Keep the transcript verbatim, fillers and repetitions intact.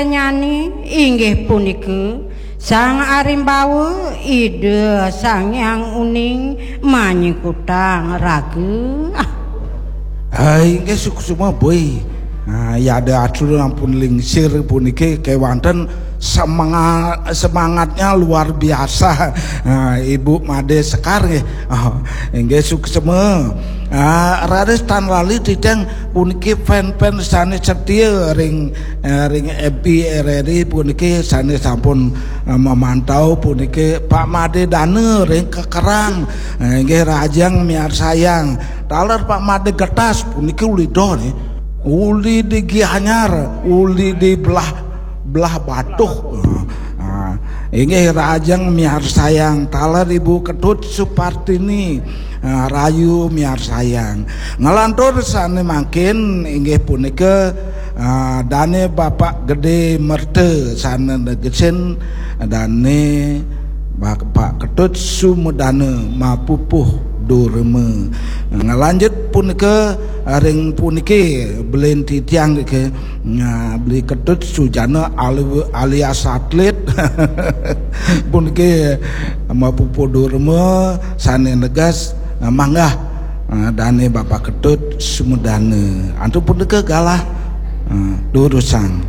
Nyani inggih punika Sang Arimbawa, Ida Sang Hyang Uning manyikutang raga. Ah, inggih suksma, Boy. Ah, ya ada atur ampun lingsir puniki kewanten semangat, semangatnya luar biasa. Ah, Ibu Made Sekar nggih. Ah, inggih suksma. Ah, raris tan lali titiang puniki fan-fan sane setia ring, eh, ring F B R R I puniki sane sampun, eh, memantau puniki Pak Made Dana ring Kekerang. Eh, inggih rahajeng miarsayang. Taler Pak Made Getas puniki uli doh nih. Uli di Gianyar, uli di belah, belah Batuh. Ah, inggih rahajeng miarsayang. Taler Ibu Ketut Supartini, ah, rahayu miarsayang. Ngelantur sane mangkin inggih punika, ah, dane Bapak Gede Merta sane negesin dane Bapak Ketut Sumedana mapupuh durma. Ngelanjut punika ring puniki belin titiang niki, nah, Beli Ketut Sujana ali-, alias atlet. Puniki mapupuh durma sane neges, nah, manggah, nah, dane Bapak Ketut Sumedana. Antuk punika galah, nah, durusang.